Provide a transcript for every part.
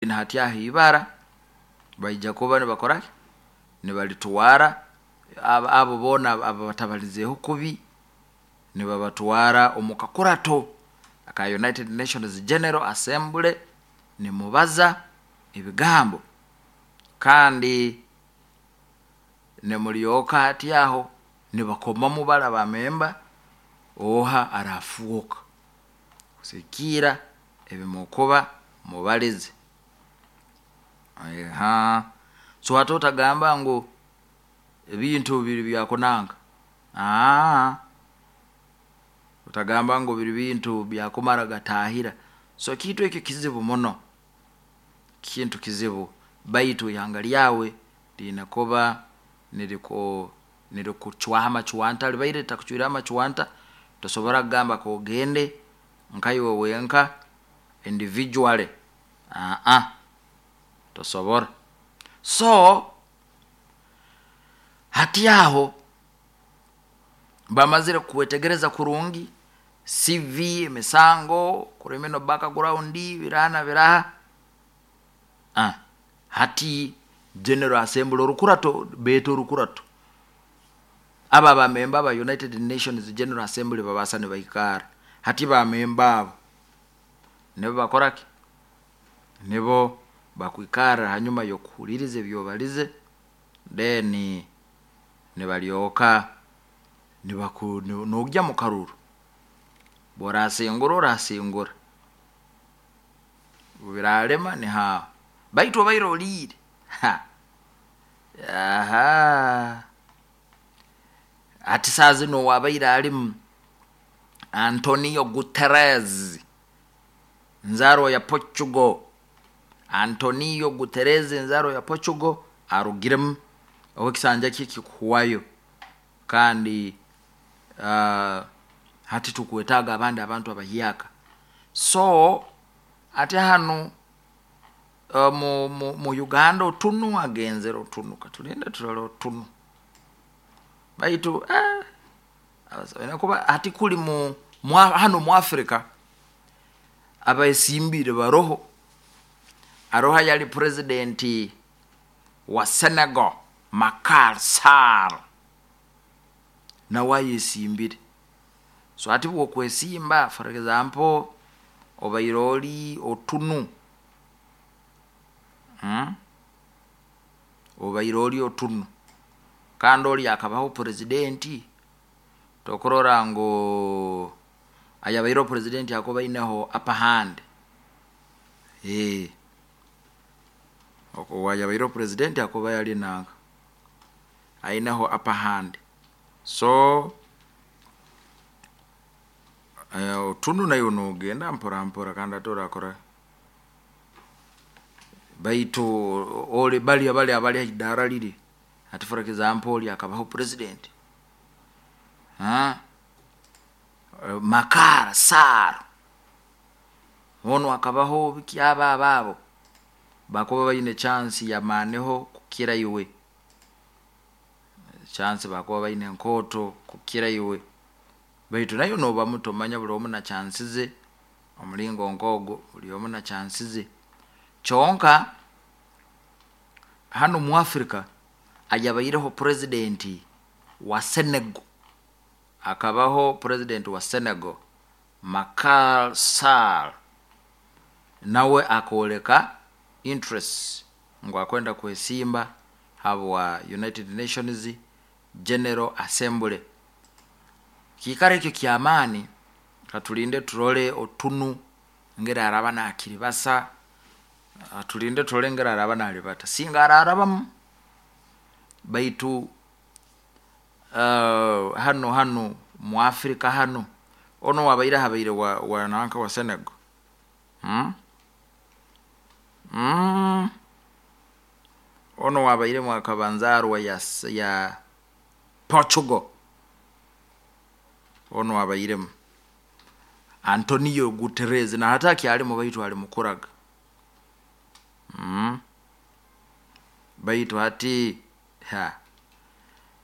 Hati aho ibara baija kuba nibakora ki? Nibalitwara abo boona ababatabalizeeho kubi, nibabatwara omu kakurato aka United Nations General Assembly, nimubaza ebigambo kandi nimulyoka hati aho nibakomamu bali aba member oha arafwoka kusigikiira ebi mukuba mubalize. So hati otagamba ngu ebintu biri byakunanka, otagamba ngu biri bintu byakumara gatahira. So ekintu eki kizibu muno, kintu kizibu, baitu ihanga ryawe riine kuba nirikucwaho amacwanta, ribaire ritakucwireho amacwanta tosobola kugamba kogende nkaiwe wenka individually, tosobora. So hati aho bamazire kukwetegereza kurungi, CV, emisango, criminal background, biraha na biraha, hati general assembly orukurato beeta orukurato, abo aba member aba United Nations General Assembly babaasa nibaikaara, hati ba member abo nibo bakoraki, nibo bakwikarra hanyuma yokuhuliriza ebi obalize, then nibalyoka nibaku nogya mukaruru, obu orasingura orasingura, obu birarema niho aho, baitu obaire oriire, hati saaha zinu owabaire arimu Antonio Guterres, nzaarwa ya Portugal, Antonio Guterres nzaarwa ya Portugal arugiremu obu ekisanja kye kikuhwayo, kandi hati tukwetaaga abandi abantu abahyaka. So hati hanu mu Uganda Otunu agenzere Otunu, katulinde turole Otunu, baitu kuba hati kuli hanu mu Africa abesimbire baroho, haroho ayali president wa Senegal Macky Sall, nawe ayesimbire. So hati obu okwesimba, for example obaire ori Otunu, obaire ori Otunu kandi ori akabaho president, tokurora ngu ayabaireho president akuba aineho upper hand, ayabaireho president akuba ali nanka, aineho upper hand. So Otunu naiwe nogenda mpora mpora kandi hati orakora ki, baitu bali bali abali haidara riri, hati for example ori akabaho president, Macky Sall, onu akabaho biki abo abo, bakuba baine chance yamaaniho kukira iwe, chance bakuba baine nkooto kukira iwe, baitu naiwe noba muto manya buri omu na chance ze, omuringo nkogwo buri omu na chance ze. Kyonka hanu mu Africa ayabaireho president wa Senegal, akabaho president wa Senegal Macky Sall, nawe akooreka interest ngu akwenda kwesimba habwa United Nations General Assembly. Kiikaro ekyo kyamaani, katulinde turole Otunu engeri araba nakiribasa, katulinde turole engeri araba naribata, singa ararabamu, baitu hanu hanu mu Africa hanu, onu owabaire habaire wa nanka wa Senegal, onu owabairemu akaba nzaarwa ya Portugal, onu owabairemu Antonio Guterres, na hati akyarimu baitu ali mukuraga, baitu hati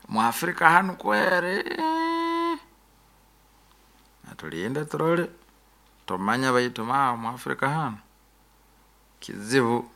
mu Africa hanu kweri, katulinde turole, tomanya baitu maawe mu Africa hanu. Kizibu.